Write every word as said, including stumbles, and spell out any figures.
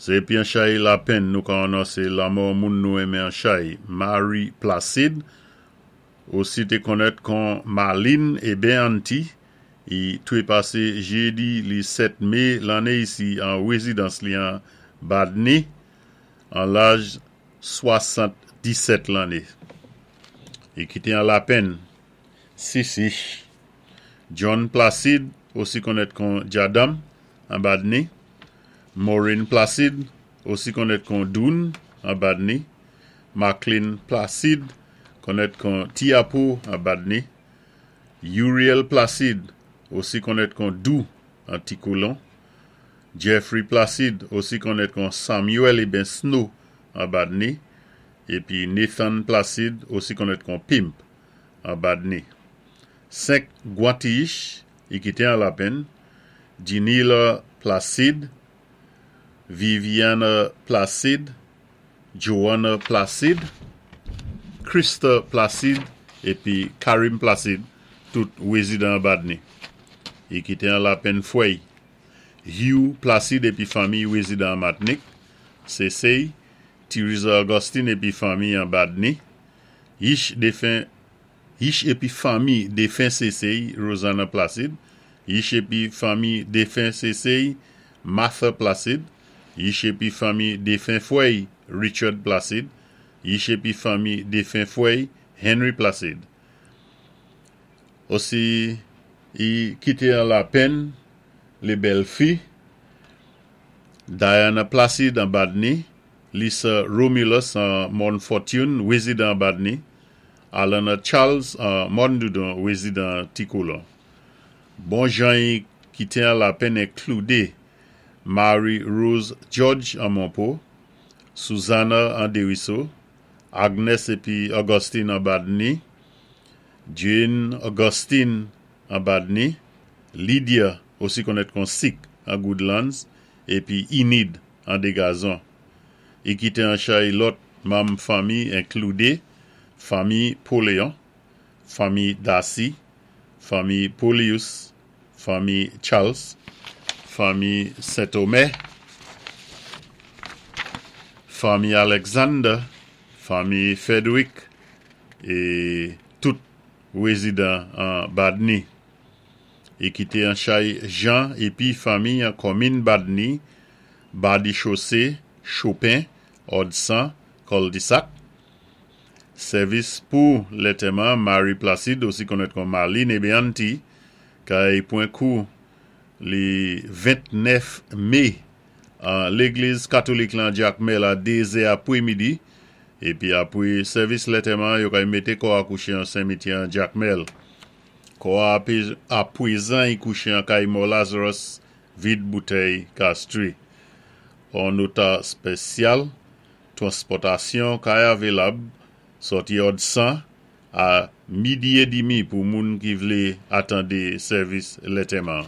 Sé épi an chay lapenn nou ka anonsé lanmò moun nou enmen an chay Marie Placide, osi té konnèt kon Marlene ében Aunty, i twépasé jédi li sèt mé lanné isi an wézidans li an Badni, an laj swasann-disèt lanné. I kité an lapenn sis ich. John Placide, osi konnèt kon Jadam, an Badni, Maureen Placide, osi konnèt kon Doun, an Badni, Maclean Placide, konnèt kon Tiapo, an Badni, Uriel Placide, osi konnèt kon Dou, an Ti-Kolon, Jeffrey Placide, osi konnèt kon Samuel ében Snow, an Badni, épi Nathan Placide, osi konnèt kon Pimp, an Badni. Senk gwan-ti-ich, i kité an lapenn, Ginila Placide, Viviana Placide, Joanna Placide, Krista Placide, épi Karim Placide, tout wézidan Badni. I kité an lapenn fwè'y. Hugh Placide épi fanmi wézidan Matnik, Sésey, Teresa Augustine épi fanmi an Badni, Ich défen Ich épi fanmi défen Sésey, Rosanna Placide, Ich épi fanmi défen Sésey, Martha Placide, Ich épi fanmi défen fwè'y, Richard Placide, Ich épi fanmi défen fwè'y, Henry Placide. Osi, i kité an lapenn, lé bèl-fi, Diana Placide an Badni, Lisa Romulus an Morne Fortune, wézidan Badni, Alana Charles an Morne Doudon, wézidan Ti-Kolon. Bon jan i kité an lapenn enkludé Marie Rose George an Monpo, Susanna an Dériso, Agnes épi Augustine an Badni, Jane Augustine an Badni, Lydia, osi konnèt kon Sik an Goodlands, épi Enid an Dégazon. I kité an chay lòt manm fanmi enkludé fanmi Poléon, fanmi Darcy, fanmi Polius, fanmi Charles, fanmi Saint-Omer, fanmi Alexander, fanmi Frederick, é tout wézidan an Badni. I kité an chay Jean épi fanmi an konminn Badni, Badi Chaussée, Chopin, Odsan, Cul-de-Sac. Sèvis pou lantèman Marie Placide, osi konnèt kon Marlene ébé Aunty, kay pwan kou li ventnèf mé an légliz katolik lan Jakmèl a dézè apwémidi, épi apwé sèvis lantèman, yo kay mété kò a kouché an simityè an Jakmèl. Kò a apwézan i kouché an kay Mò Lazarus, vid boutèy Castries. An nota spésyal, transpòtasyon kay avilab, sòti Odsan a midi é dimi pou moun ki vlé atandé sèvis lantèman.